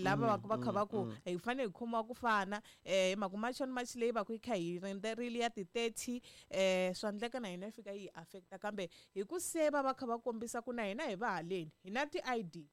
Lava va va kha va ku hi fanele hi khomiwa ku fana hi mhaka March on March leyi va ku yi kha hi rindzerile ya ti-30, swa endleka na hina yi fika yi hi affecta, kambe hi ku se va va kha va kombisa ku na hina hi va haleni hi na ti-ID.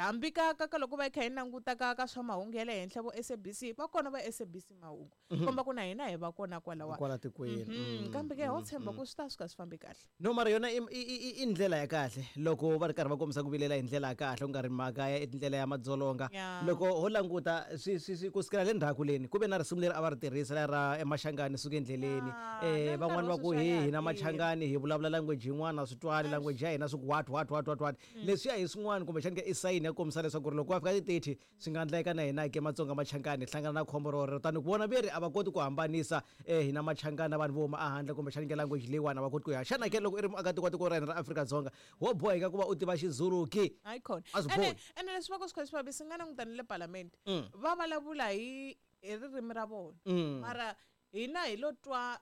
Hambi ka loko va kha hi languta ka swa mahungu ya le henhla vo SABC, va kona va SABC mahungu, komba ku na hina hi va kona kwalawa kwala tikweni. Kambe ke ho tshemba ku swi ta suka swi fambi kahle. No, mara yona i ndlela ya kahle loko va ri karhi va kombisa ku vilela hi ndlela ya kahle, ku nga ri mhaka ya ndlela ya madzolonga. Loko ho languta swi ku sukela le ndzhaku leni ku ve na risimu leri a va ri tirhisa leri ra emaxangani suka endleleni. Na Van'wani nkarhi va wa ku sweswi a he ya ha hina tirhi. Machangani hi vulavula language yin'wana, swi twali language ya hina, swi ku what what what what what. Leswiya hi swin'wana kumbexani ka i sayini ya ku kombisa leswaku ri loko va fika ti-30 swi nga endleka na hina ke Matsonga Machangani hi hlangana na khombo rorero, tani ku vona veri a va koti ku hambanisa hina Machangani na vanhu vo huma ehandle, kumbexani ke language leyiwani a va koti ku ya. Xana ke loko i ri muakatiko wa tiko ra hina ra Afrika-Dzonga wo boheka ku va u tiva Xizulu ki? Hayi khona. A swi Ene bohi. Ene leswi va ku swi kha swi vavisa, nga languta ni le palamende va vulavula hi ririmi ra vona, mara hina hi lo twa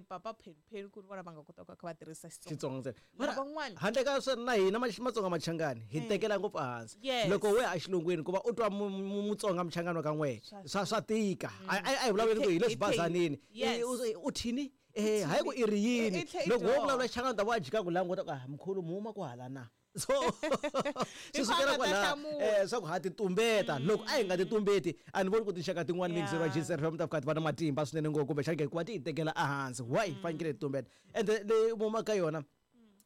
papa Penpen ku ri vona va nga kota ku kha va tirhisa Xitsonga. Xitsonga ntsena. Mara van'wana handle ka swona na hina Matsonga Machangani hi tekela ngopfu ehansi. Loko we ya exilungwini ku va u twa Mutsonga Muchangani wa ka n'wehe swa tika. A hi vulavuleni ku hi le swibazanini. U thini? Hayi ku i ri yini? I tlhe i Loko wo dyoha. vulavula Xichangani u ta va a jika ku languta ku, ah, mkhulu mi huma kwahala na? So swi Hi sukela ku a nga ta kwalaho, hlamula. Swa ku ha ti tumbeta. Loko a hi nga ti tumbeti a ni voni ku tinxaka tin'wani mixer wa GCR FM ta fika ti va na matimba swinene ngopfu, kumbexana ke ku va ti hi tekela ehansi. Why fanekele hi tumbeta? Ende leyi huma ka yona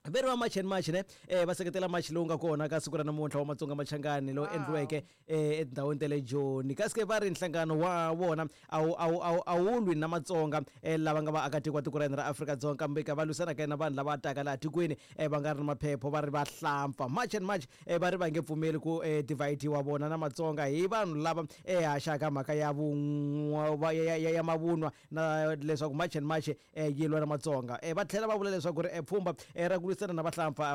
veri va March and March ne, va seketela march lowu nga kona ka siku ra namuntlha wa Matsonga Machangani lowu endliweke etindhawini ta le Joni. Kasi ke va ri nhlangano wa vona a wu lwi na Matsonga lava nga vaakatiko wa tiko ra hina ra Afrika-Dzonga, kambe ka va lwisana ka na vanhu lava taka laha tikweni va nga ri na maphepho, va ri va hlampfa. March and March va ri va nge pfumeli ku divide-iwa vona na Matsonga hi vanhu lava haxaka mhaka ya ya mavunwa na leswaku March and March yi lwa na Matsonga. Va tlhela va vula leswaku ri pfhumba ra ku lwisana na vahlampfa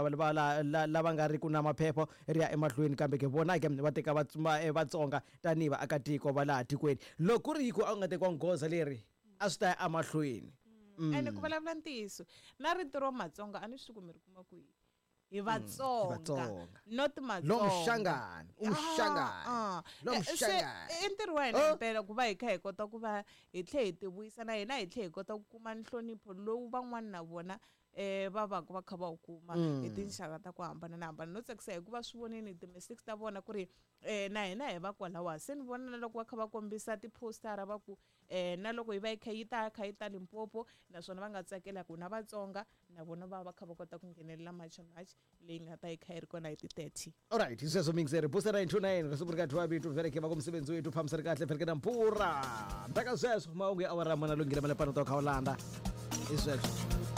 lava nga ri ku na maphepho ri ya emahlweni, kambe ke vona ke va teka Vatsonga tanihi vaakatiko va laha tikweni. Loko ku ri ku a ku nga tekiwangi goza leri a swi ta ya emahlweni. Ene ku vulavula ntiyiso na rito ro Matsonga a ni swi ku mi ri kuma kwihi. Hi Vatsonga, Vatsonga. not Matsonga. Lo Mshangani, uMshangani. Lo Se, Mshangani. i ntirho wa hina Oh. himpela ku va hi kha hi kota ku va hi tlhe hi tivuyisa na hina, hi tlhe hi kota ku kuma nhlonipho lowu van'wana na vona va va ku va kha va wu kuma hi tinxaka ta ku hambana na hambana. No tsakisa hikuva swi voneni ti-mistakes ta vona ku ri na hina hi va kwalawa. Se ni vona na loko va kha va kombisa ti-postara va ku na loko yi va yi kha yi ta kha yi ta Limpopo, naswona va nga tsakela ku na Vatsonga na vona va va kha va kota ku nghenelela March on March leyi nga ta yi kha yi ri kona hi ti-30. Alright, hi sweswo mixer booster 929 risimu ri ka thiwa vito vereke va ku musebenzi wethu fambisa ri kahle vereke na mpfura. Ndaka sweswo mahungu ya awara mana lunghile malepano to kha u landa. Hi sweswo.